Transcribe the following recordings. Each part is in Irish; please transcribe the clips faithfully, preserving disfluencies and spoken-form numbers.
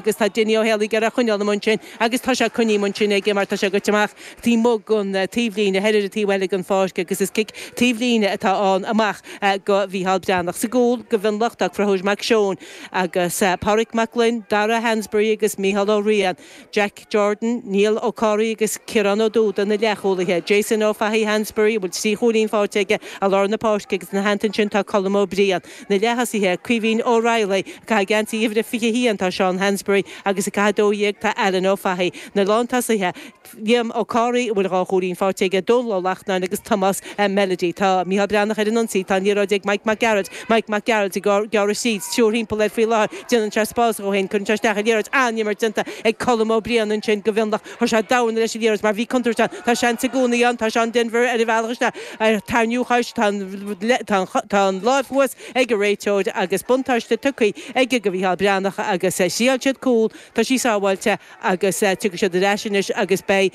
Agus tá Dinny Ó Héalaí ag iarraidh coinneáil amuigh ansin agus tá sé coinnithe amuigh ansin aige mar tá sé goite amach taobh amuigh den taobhlíne, thoir ar an taobh eile den pháirc agus is cic taobhlíne atá ann amach go Mhícheál Breathnach. Sa gcúl go Mhionlach tá Conchúr Mac Seoin agus Pádraig Mac Gloinn, Dara Hansberry agus Mícheál Ó Riain, Jack Jordan, Niall Ó Comhraí agus Ciarán Ó Dúda na leathchúlaithe, Jason Ó Fathaigh Hansberry a bhfuil trí chúilín faighte aige i lár na páirce agus ina theannta ansin tá Colm Ó Briain. Na leath-thosaithe, Caoimhín Ó Raghallaigh, ag caitheamh geansaí uimhir a fiche a haon tá Seán Hansberry agus ag caitheamh a dó dhéag tá Alan Ó Fathaigh. Na lántosaithe, Liam Ó Comhraí, a bhfuil dhá chúilín faighte aige, Dónal Ó Lachtnáin agus Tomás Melody. Tá Mícheál Breathnach ar an ionsaí. Tá an liathróid ag Mike Mac Gearailt. Mike Mac Gearailt ag gearradh tríd, triúr thimpeall air faoi láthair. Déanann sé spás dhó féin. Cuireann sé isteach an liathróid. An-imirt déanta ag Colm Ó Briain ansin go Mhionlach. Chuir sé damhna leis an liathróid mar bhí contúirt ann. Tá seans i gcónaí ann. Tá Seán Denvir ar a bhealach isteach. Ar tarraingíodh chois. Tá an láimh thuas ag an réiteoir agus buntáiste tugtha aige go Mhícheál Breathnach agus thriail siad cúl, tá sí sábháilte agus tiocfaidh siad ar ais anois agus beidh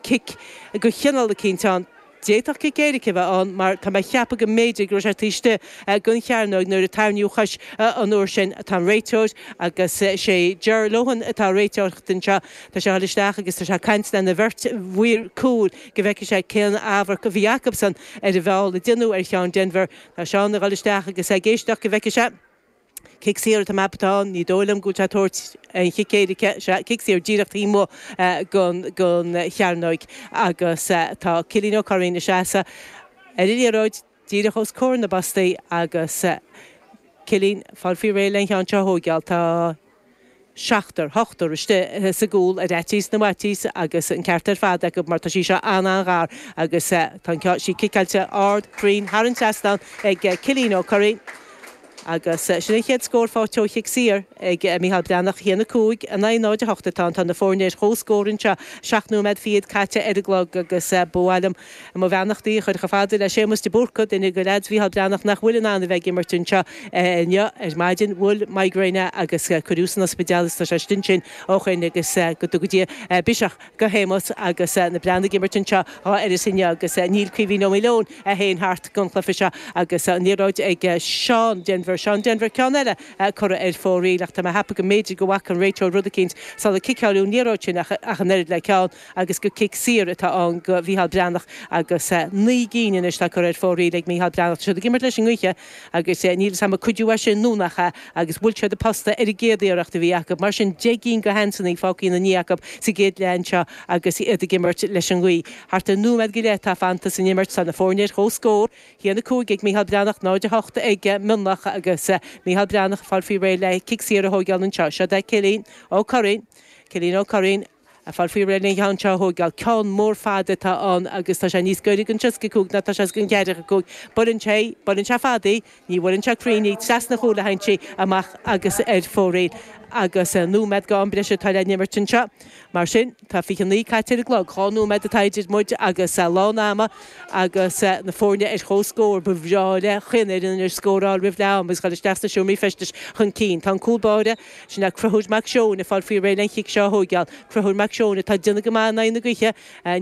cic de chineál eicínt ann. D'fhéadfadh cic éirice a bheith ann mar tá mé a cheapadh go mb'fhéidir go raibh sé taobh istigh den chearnóg nuair a tarraingíodh chois an uair sin. Tá an réiteoir agus sé Ger Lohan atá ag réiteoireacht anseo. Tá sé a dhul isteach agus tá sé ag caint lena bheirt mhaor cúil go bhfeicfidh sé cén amharc a bhí acusan ar an bhfeall a déanadh ar Sheán Denvir. Tá Seán ag dul isteach agus é ag éisteacht go bhfeicfidh sé. Cic saor atá mé atá ann, ní dóigh liom go bhfuil sé ag tabhairt an chic éirice, sea, cic saor díreach taobh amuigh den chearnóig agus tá Cillian Ó Curraoin ina seasamh ar an liathróid díreach os comhair na bpostaí agus Cillian ag fáil faoi réir len cheann seo a thóigeáil. Tá seachtar, ochtar istigh sa gcúl ar fhaitíos na bhfaitíos agus an ceart ar fad acu mar tá sí seo an-an-ghar agus tá an ceann sí ciceáilte ard cruinn thar an trasnán ag Cillian Ó Curraoin agus sin an chéad scór faighte ó chic saor ag Mícheál Breathnach. a haon a cúig in aghaidh náid a hocht atá ann. Tá na foirne ar comhscór anseo, seacht nóiméad fichead caite ar an gclog agus ba mhaith liom mo bheannachtaí a chur chomh fada le Séamus de Búrca, duine de leaids Mhícheál Breathnach nach bhfuil in ann a bheith ag imirt anseo inniu ar maidin. Bhuail migraine é agus cuireadh san ospidéal agus tá sé istigh ansin ó shoin agus go dtuga Dia biseach go Shéamus agus na Breathnaigh ag imirt anseo dhá uireasa inniu agus níl Caoimhín Ó Maoileoin é féin thart don chluiche seo agus an liathróid ag Seán Denvir. Seán Denvir ceann eile curtha ar fóraoil ach tá mé a cheapadh go mb'fhéidir go bhfaca an réiteoir rud eicínt sular ciceáileadh an liathróid sin ach an oiread le ceann agus gur cic saor atá ann go Mhícheál Breathnach agus naoi gcinn anois atá curtha ar fóraoil ag Mícheál Breathnach. Tá siad ag imirt leis an ngaoth agus níl 'fhios a'm an cuidiú é sin nó nach ea agus bhuail siad an posta ar an gcéad iarracht a bhí acu. Mar sin deich gcinn de sheansanna fágtha ina ndiaidh acu sa gcéad leath anseo agus iad ag imirt leis an ngaoth. Thart ar nóiméad go leith atá fanta san imirt. Tá na foirne ar comhscór, a haon a cúig ag Mícheál Breathnach, náid a hocht ag Mionlach agus Mícheál Breathnach ag fáil faoi réir le cic saor a thóigeáil anseo. Seo é Cillian Ó Curraoin. Cillian Ó Curraoin. Ag fáil faoi réir len cheann seo a thóigeáil. Ceann mór fada atá ann agus tá sé níos gaire don tríocha cúig ná tá sé don cheathracha cúig. Buaileann sé, buaileann sé fada í, ní bhuaileann sé cruinn í, trasna an chúil a théann sí amach agus ar fóraoil. Agus nóiméad go am breise atá le n-imirt anseo. Mar sin, tá fiche naoi caite ar an gclog, dhá nóiméad atá idir muid agus lán ama agus na foirne ar comhscór. Ba bhreá le chaon fhoireann anois scóráil roimh leath ama agus dhul isteach sna seomraí feistis chun cinn. Tá an cúl báire, sin é Conchúr Mac Seoin, ag fáil faoi réir len chic seo a thóigeáil. Conchúr Mac Seoin atá ag déanamh go maith in aghaidh na gaoithe.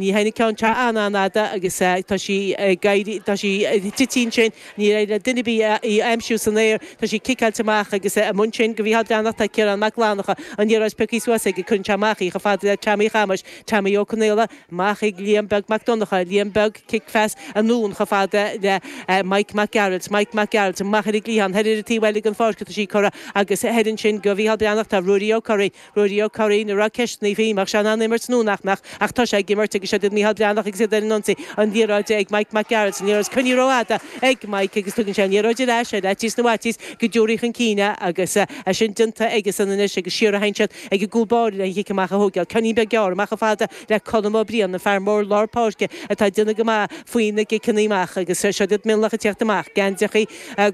Ní théann an ceann seo an-an-fhada agus tá sí ag éirí, tá sí ag titim ansin. Níor éirigh le duine ar bith í a aimsiú san aer. Tá sí ciceáilte amach agus amuigh ansin go Mhícheál Breathnach tá Ciarán Mac Fhlannchadha. An liathróid pioctha suas aige, cuireann sé amach í chomh fada le Teaimí Chamuis, Teaimí Ó Conaola, amach ag Liam Beag Mac Donncha, Liam Beag, cic phas anonn chomh fada le Mike Mac Gearailt, Mike Mac Gearailt amach ar an gcliathán, thoir ar an taobh eile den pháirc atá sí curtha agus thoir ansin go Mhícheál Breathnach tá Ruairí Ó Curraoin, Ruairí Ó Curraoin, a raibh ceisteanna faoi an mbeadh sé in ann imirt nó nach mbeadh ach tá sé ag imirt agus seo iad Mícheál Breathnach agus iad ar an ionsaí, an liathróid ag Mike Mac Gearailt, an liathróid coinnithe rófhada ag Mike agus tugann sé an liathróid ar ais ar fhaitíos na bhfaitíos go dtabharfaí chun cinn é agus é sin déanta aigesan anois agus siar a théann siad ag an gcúl báire le an chic amach a thógáil. Ceainnín beag gearr amach chomh fada le Colm Ó Briain, an fear mór lár páirce atá ag déanamh go maith faoi na gciceanna amach agus seo iad Mionlach ag tíocht amach. Geansaíochaí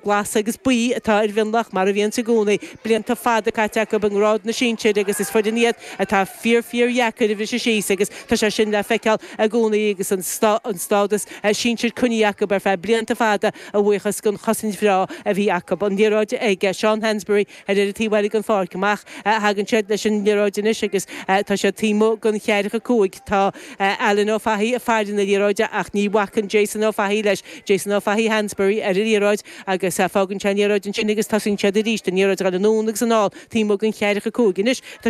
glasa agus buí atá ar Mhionlach mar a bhíonns i gcónaí. Blianta fada caite acu i ngrád na sinsir agus is foireann iad atá fíor fíor dheacair a bhriseadh síos agus tá sé sin le feiceáil i gcónaí agus an stádas sinsir coinnithe acu ar feadh blianta fada a bhuíochas don chosaint bhreá a bhí acu. An liathróid ag Seán Hansberry ar ar an taobh eile den pháirc. Amach thagann siad leis an liathróid anois agus tá sé taobh amuigh den cheathracha cúig tá Alan Ó Fathaigh ag faire na liathróide ach ní bhacann Jason Ó Fathaigh leis Jason Ó Fathaigh Hansbury ar an liathróid agus fágann sé an liathróid ansin agus tosaíonn siad arís an liathróid anonn agus anall taobh amuigh den cheathracha cúig anois